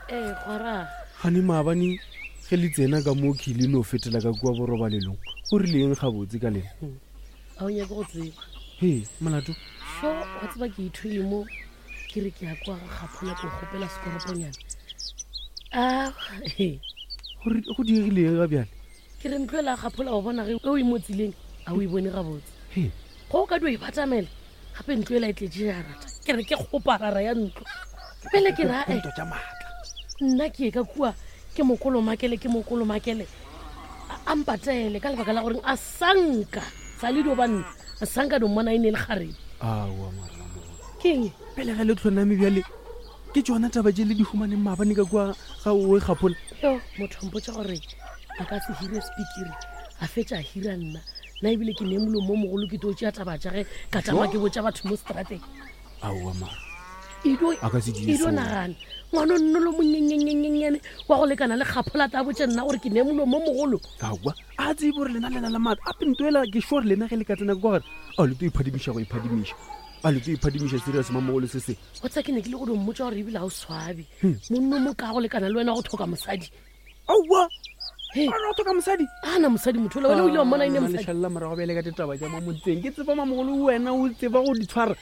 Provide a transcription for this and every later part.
Ee, gwara. Gane maabane ge le tsena ka mo khile no fetela ka kua borobalelong, go rileng gabotse ka lena? A o nyake go tseba. He, molato? Sho, wa tseba ke ithwele mo ke re ke ya kwa ga Kgaphola ko kgopela sekoroponyana. A, he. Go diegileng ga bjale? Ke re ntlo ela Kgaphola wa bona ge o e mo tseleng, a o e bone gabotse. He. Go o ka dio e batamela, gape ntlo ela e tletše jarata. Ke re ke kgoparara ya ntlo. Pele ke ra, eh. Ntwa tša maatla. Nna ke ye ka kua, ke mokolomakele, ke mokolomakele. A mpatele ka lebaka la goreng a sanka sa le dio ba nna a sanka dio mmona e ne e le kgarebe. Aowa mara mamogolo. Keng? Pele ga le tlhoname bjale ke tšona taba tše le di humaneng maabane ka kua ga owe Kgaphola. Yo, motho a mpotša gore a ka se hire sepikiri a fetša a hira nna. Nna ebile ke ne molomo o mogolo ke tlo tšea taba tša ge ka tšama ke botša batho mo strateng. Aowa mara. Edo, A ka se di edo so. nagana ngwana o nnolo monyenyenyenyenyane wa go lekana le Kgaphola ta botše nna gore ke ne molomo o mogolo. Aowa, a tsebe gore lena le na le maatla. Ape nto ela ke sure lena ge le ka tsena ka kwa gare, a le tlo iphadimiša go iphadimiša. A le tlo iphadimiša serious mamogolo se se. Wa tseba ke ne ke le go dio mmotša gore ebile ga o swabe. Monna o mo ka go lekana le wena wa go tlhoka mosadi. Aowa. A re o tlhoka mosadi? A na mosadi motho ola, wena o ile wa mmona e ne mosadi. Lešalela morago bjale ka ditaba tša mo motseng. Ke tseba mamogolo wena o tseba go di tshwara.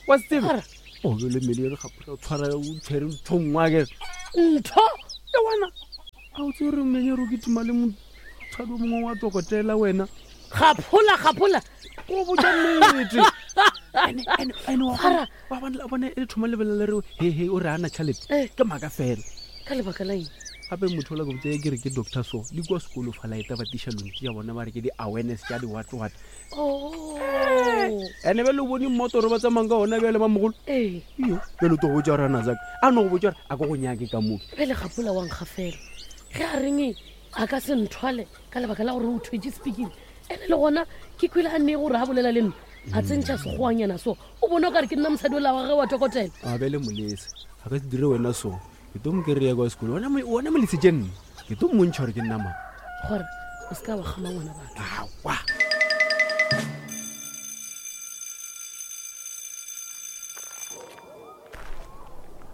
Wa se tsebe? Tshwara? O be le mmele re gapola o tshwara o tshwere ntho nngwe akere. Ntho? E wena. A o tsebe gore mmenyero ke tima le motshwadi o mongwe wa tokotela wena. Gapola, gapola. Go botša nnete. Ene, ene, ene wa Tshwara. bona, wa bona, wa bona e thoma lebelela re he he o re ana tšhelete. Eh. Ke maaka fela. Ka lebaka la eng? Gape motho ola ke botse ke re ke doctor so le kua sekolo fa laeta ba tiša lone tša bona ba re ke di-awareness tša di-what what. Oh. Ene bjale o bone mmotoro ba tsamayng ka ona bjale ba mogolo. Ee. Iyo, bjale o tlo go botša gore a nazaka. A no go botša gore a ko go nyake ka moke. Bjale Gapola wa nkgafela. Ge a reng a ka se nthwale ka lebaka la gore o thwetše sepikiri. Ene le gona ke kwele a nne gore a bolela le nna a tsentšha sekgoanyana so. O bone o ka re ke nna mosadi ola wa ge wa tokotela. A bjale molese a ka se dire wena so. Ke tlo mo kry-a kwa sekolo. Wena mo-, wena molesitše nna. Ke tlo mmontšha gore ke nna mang. Gore o se ka wa kgama ngwana batho. Aowa.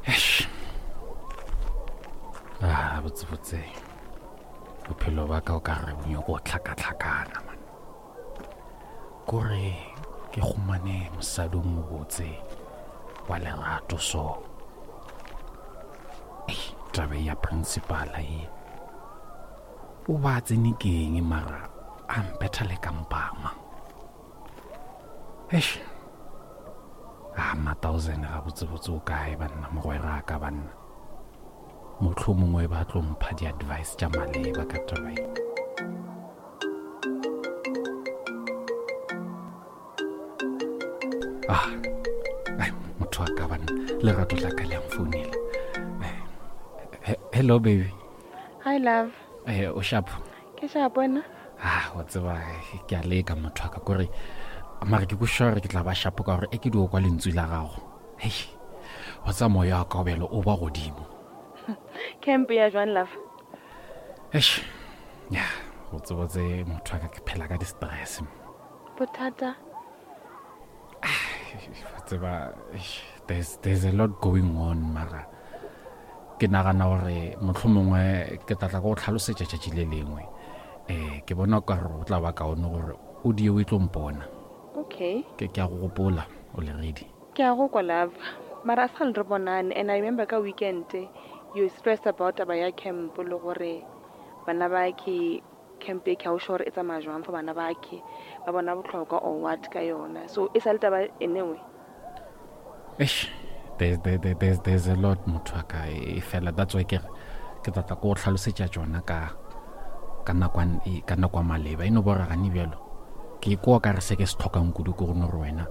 Eish. Ah, botsebotse. Bophelo ba ka o ka re bo nyoko tlhakatlhakana, man. Kore ke humane mosadi o mobotse wa lerato so. Ei, taba ya principala e. O ba tsene keng mara a mpetha le ka mpama. Eish. Ah, ma thousand ga botsebotse o kae banna mogwera ka banna. Mohlomongwe ba tlo mpha di-advice tša maleba ka taba e. Ah, ai, motho wa ka banna, lerato la ka le a mfounela. Hello baby. Hi love. O sharp? Ke sharp wena? Ah, wa tseba ke a leka motho wa ka kore mara ke kwešiša gore ke tla ba sharp ka gore e ke dio kwa lentswe la gago. Hei, wa tseba moya wa ka o bjalo o ba godimo. Camp ya jwang love? Eish, ya, go tsebotse motho wa ka ke phela ka di-stress. Bothata? Wa tseba, eish, there's a lot going on mara ke nagana gore mohlomongwe ke tla tla go tlhalosetša tšatši le lengwe. Ke bona ka gore go tla ba kaone gore o die o e tlo mpona. Okay. Ke a go gopola o le ready. Ke a go kwa love. Mara a sa le re bonane and I remember ka weekend you stressed about taba ya camp le gore bana ba ke camp e ke ha o sure e tsamaya jwang for bana ba ke ba bona bohlokwa or what ka yona. So e sa le taba anyway. Eish, there's a lot motho wa ka e fela. That's why ke re ke tla tla ko go tlhalosetša tšona ka nako e, ka nako ya maleba. E no bo gore gane bjalo ke kwa ka re se ke se tlhokang kudu ke go no re wena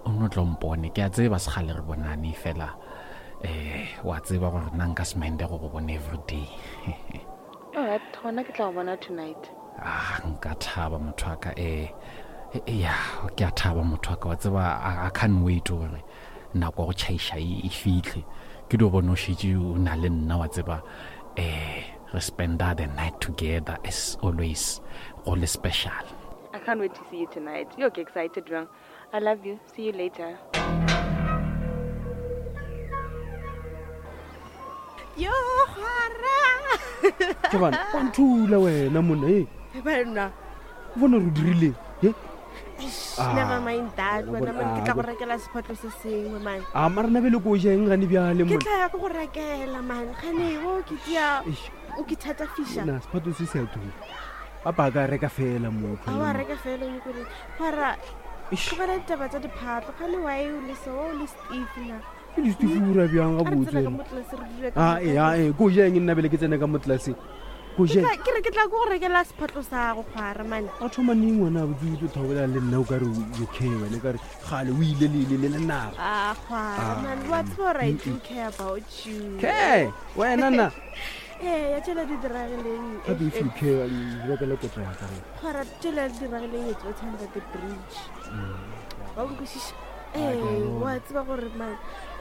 o no tlo mpone. Ke a tseba segale re bonane fela, wa tseba gore nna nka se mende go go bona every day. All right, gona ke tla go bona tonight. Ah, nka thaba motho wa ka, ya, ke a thaba motho wa ka, wa tseba, I can't wait gore nako ya go tšhaiša e fihle. Ke dio bona o šetše o na le nna, wa tseba, re spenda the night together as always, go le special. I can't wait to see you tonight. You're excited, bjang? I love you. See you later. Yo, kgwara. Ke bana, wa nthula wena monna e. Banna. O bona re dirileng? He? Eish, Ah, Never mind that. wena Wena bona- man, ke tla ah, go rekela sephatlo se sengwe man. A mara nna bele ko ja eng gane bjale Ke monna. tla ya ke go rekela man. Gane o ke tia Eish, o ke thatafiša. Na sephatlo se se a tura. Papa a ka reka fela mo. A wa reka fela o nyako reng. Kgwara, Eish, ke bona ditaba tsa diphatlo. Gane why o le so o le stiff na. ke di stifura bjang A re gabotse tsena ka wena. mo tlase re dule ka Ah, mo ee, ah, ee, ko ja eng nna bele ke tsene ka mo tlelaseng. Ko Ke ja. tla- Ke re ke tla ko go rekela sephatlo sa go kgwara man. A thoma neng wena botse o thabolela le nna o ka re you care wena o ka re gale o ile le ile le le naga. Ah, kgwara Ah, man, wa tseba gore I do care about you. Care, wena na. Ee, ya tšela di diragileng. Gape if you care, rekela kotla ya ka. Kgwara tšela di diragileng it's what's under the bridge. Wa nkwešiša? Ah, ke a Ee, bona. wa tseba gore man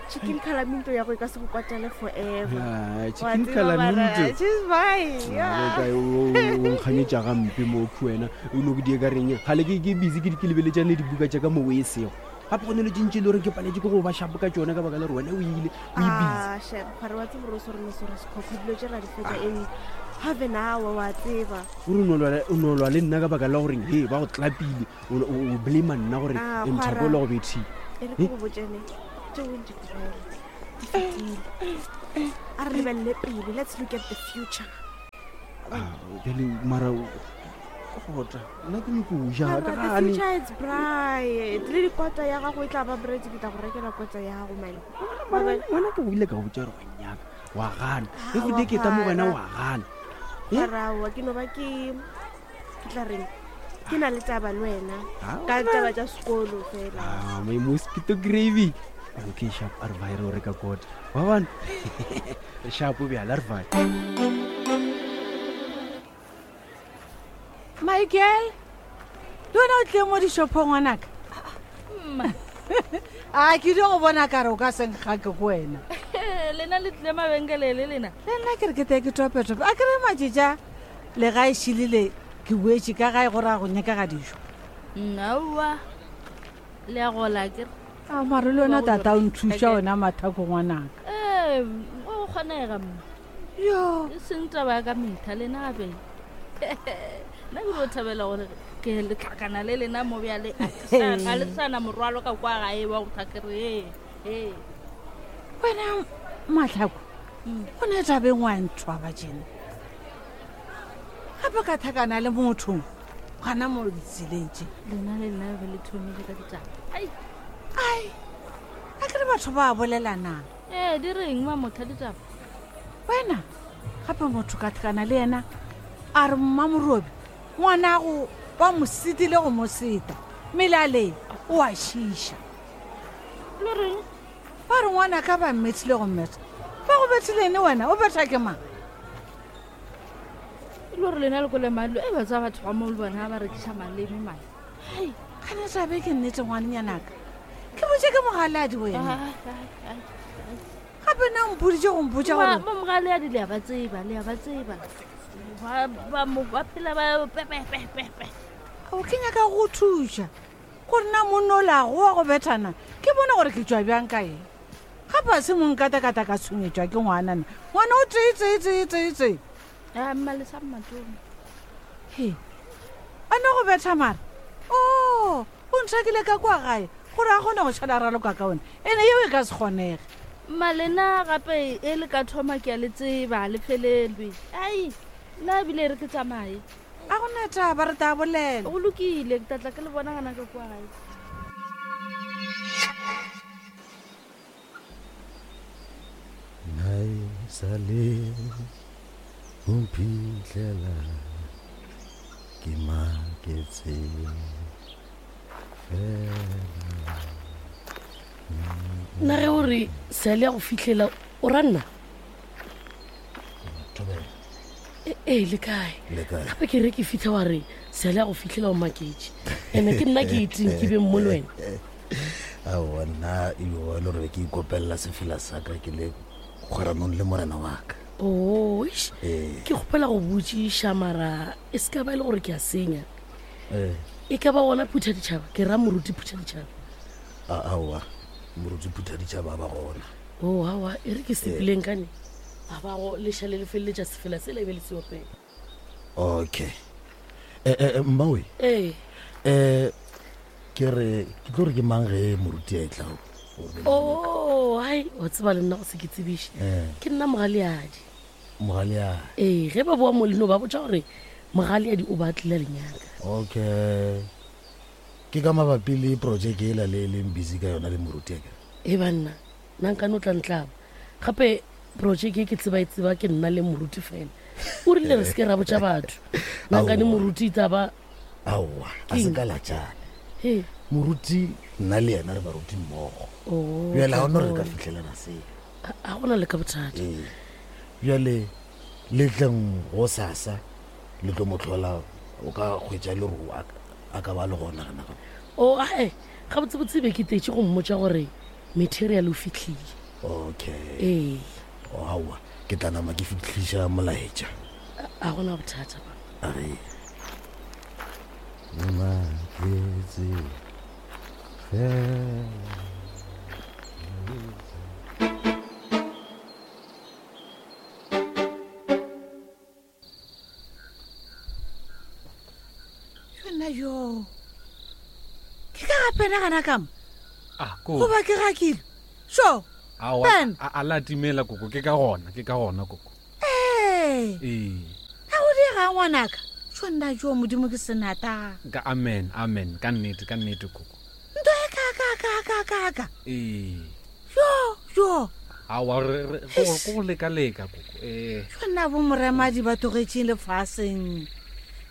chicken calaminto ya go e ka se go kwatale forever. Ah, Wa chicken tseba mara, calaminto. she's fine, yeah. o nkganyetša gampe mo khu wena o no ke die ka reng gale ke ke busy ke di- ke lebeletšane le dibuka tša ka mo o e sego gape go ne le tšentši e le gore ke paletse ke go ba shapo ka tšone ka baka la gore wena o ile o e busy Ah, shame, kgwara wa tseba gore o swere mesore sekhokho dilo tše ra di fetša in half an hour wa tseba. o re o no lwa- o no lwa le nna ka baka la goreng he ba go tlapile o o- o blame nna gore Ah, mthako kgwara. o le go bethile E re ke go botšene tšeo di tlogele di fetile. A re lebelele pele let's look at the future. Ah, bjale mara kota nna ke nyako o ja Mara, ka the gane future is bright le dikota ya gago e tla ba bright ke tla go rekela kota ya gago mane Mara wena ke go ile ka go botša gore wa nyaka wa gana Ah, e go wa ke ta mo wena gana. wa gana Eh? maraoa ke no ba ke ke tla reng ke na le taba le wena Ah, ka taba tša sekolo fela Ah, my mosquito gravy. Okay, sharp, a re vae re o reka kota. Wa bona? Re sharp bjale, a re vae. Michael le wena o tlile mo dishopong ngwanaka a ke dio go bona kare o ka senkgake ko wena lena le tlile mabenkele le lena le nna ke re ke tee ke topetope a kry matšetša le ga e šilile ke boetse ka gae gore a go nyaka ga dijo nnaowa le a gola ke re a mare le wena tata o nthuša wena mathako ngwanaka ee go kgonega mma yo e seng taba ya ka metlha lena gape nna ke dio thabela gore ke le tlhakana le lena mo bjale a ke sa- ga le sana morwalo ka kwa gae wa go tlhakere ee ee wena matlhako o ne tabeng wa nthwa ba jena gape ka thakana le motho gana mo ditseleng tše lena le nna be le thomile ka ditaba ai ai a kere batho ba bolelanang ee di reng mamotha ditaba wena gape motho ka tlhakana le yena a re mmamorobi ngwanago ba mo setile go mo seta melaleng o a šiša le reng ba re ngwana ka ba mmethile go mmetha ba go bethilene wena o betha ke mang e le gore lena le kole malo e ba tsa batho ba mo le bona ba rekiša maleme mane ai gane tabe ke nnete ngwanenyanaka ke botse ke mogaladi wena gape na mpoditse go mpotsa gore mo mogale ya di le a ba tseba le a ba tseba Ba- ba mo- ba phela ba pepepepepe o ke nyaka go thuša gore na monno lago wa go bethana ke bone gore ke tswa bjang ka eng gape a se monkatakata ka tshwenyetswa ke ngwanana ngwana o tee tee tee tee tee a mmale sa mmatone he a ne go betha mara o o nthakile ka kwa gae gore a kgone go šhala raloka ka one ene yeo e ka se kgonege mmalena gape e le ka thoma ke a le tseba le felelwe ai nna ebile re ke tsamaye a gona taba re tla bolela go lokile ke tlatla ke le bona gana ka kwa gae Nai sale o mphitlhela ke maketse fela nna ge o re seale ya go fitlhela o ra nna Thobela, ee le kae le kae gape ke re ke fitlha wa re seale ya go fitlhela o maketse ande ke nna ke itseng ke beng mo le wena aowa nna eo le gore be ke ikopelela sefela sa ka ke le kgweranong le morena wa ka oo eish, ee ke kgopela go botsiša mara e se ka ba e le gore ke a senya ee e ka ba gona phutha ditšhaba ke ra moruti phutha ditšhaba aowa moruti phutha ditšhaba ba gona o aowa e re ke sepileng kane A ba go lešale le feleletša sefela sela e be le se opela. Okay. Eh, eh, eh, mmawe. Ee. Eh, ke re ke tlo re ke mang ge moruti a e tla Oh, hai, wa tseba le nna go se ke tsebiše. Eh. Ke nna mogaleadi. Mogaleadi. Ee, ge ba boa mo leno ba botša gore mogaleadi o ba tlile lenyaka. Okay. Ke ka mabapi le project ela le leng busy ka yona le moruti akere. E banna, nna nkane o tla ntlaba. Gape project e ke tseba e tseba ke nna le moruti fela. O rile re se ke ra botša batho. Nna nkane Aowa. moruti e tla ba Aowa, a se ka latšane. He. Moruti nna le yena re baruti mmogo. Oh, Bjale ga ona re ka bona. fitlhelana seo. A gona le ka bothata. Ee. Bjale le tleng go sasa le tlo mo tlhola o ka hwetša le gore a ka ba le gona gana ga. O ae, gabotsebotse be ke tletše go mmotša gore material o fihlile. Okay. Ee. O aowa, ke tla nama ke fihliša molaetša. A gona bothata ba. A re. Maketse fela. Yona yo. Ke ka gape nagana ka mo. Ah, ko. Goba ke gakile. So. Aowa, Ben. a la timela koko, ke ka gona, ke ka gona koko. Ee. Ee. Ga go diega ngwanaka. Sho nna jo modimo ke senata. Ka amen, amen, ka nnete, ka nnete koko. Nto e ka ka ka ka ka ka. Ee. Yo, yo. Aowa, re re ko go- ko go leka-leka koko. Ee. Sho nna bo moremadi ba tlogetšeng lefaseng.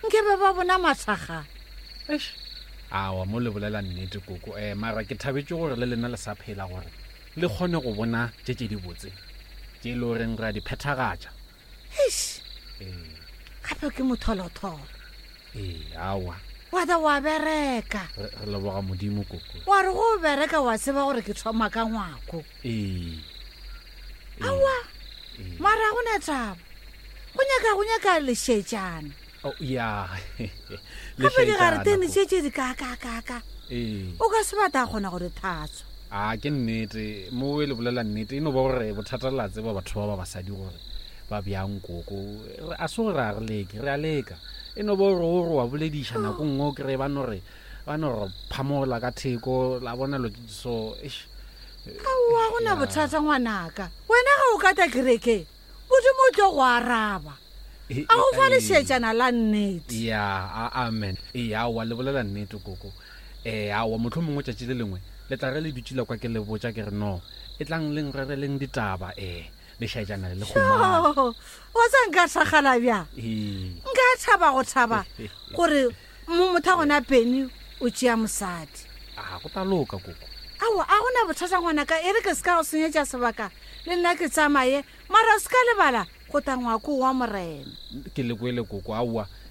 Nke be ba bona mathakga. Eish. Aowa, mo le bolela nnete koko. Eh, mara ke thabetše gore le lena le sa phela gore le kgone go bona tše tše dibotse tše e le goreng re a di phethagatša. Eish. Ee. Gape ke motholotholo. Ee, aowa. Wa tla wa bereka. Re re leboga Modimo koko. Wa re go bereka wa tseba gore ke thoma ka ngwako. Ee. Aowa. Mara ga go na taba. Go nyaka go nyaka lešetšana. Oh, ya. Gape digaretene Lešetšana, tše tše di kaakakaaka. Ee. O ka se bata a kgona go di thatswa. A ke nnete, mo e le bolela nnete, e no ba gore bothata la tseba batho ba ba basadi gore ba bjang koko. Re- A se gore a re leke, re a leka. E no ba gore o re wa bolediša nako nngwe o kry-e ba no re ba no re phamola ka theko la bona lo so eish. Aowa go na bothata ngwanaka. Wena ga o ka ta kerekeng, Modimo o tlo go araba. A go fa lešetšana la nnete. Ya, a amen. Ee, aowa le bolela nnete koko. Eh, aowa motlho mongwe tšatši le lengwe le tla re le dutše la kwa ke le botša ke re no e tlang leng rereleng ditaba eh lešaetšana le le gomane. Tjoo, wa tsa nka thakgala bjang? Ee. Nka thaba go thaba gore mo motho a gona Penny o tšea mosadi. A go tla loka koko. Aowa, a gona bothata ngwanaka, e re ke se ka go senyetša sebaka le nna ke tsamaye, mara o se ka lebala go tla ngwako wa morena. Ke le kwele koko, aowa.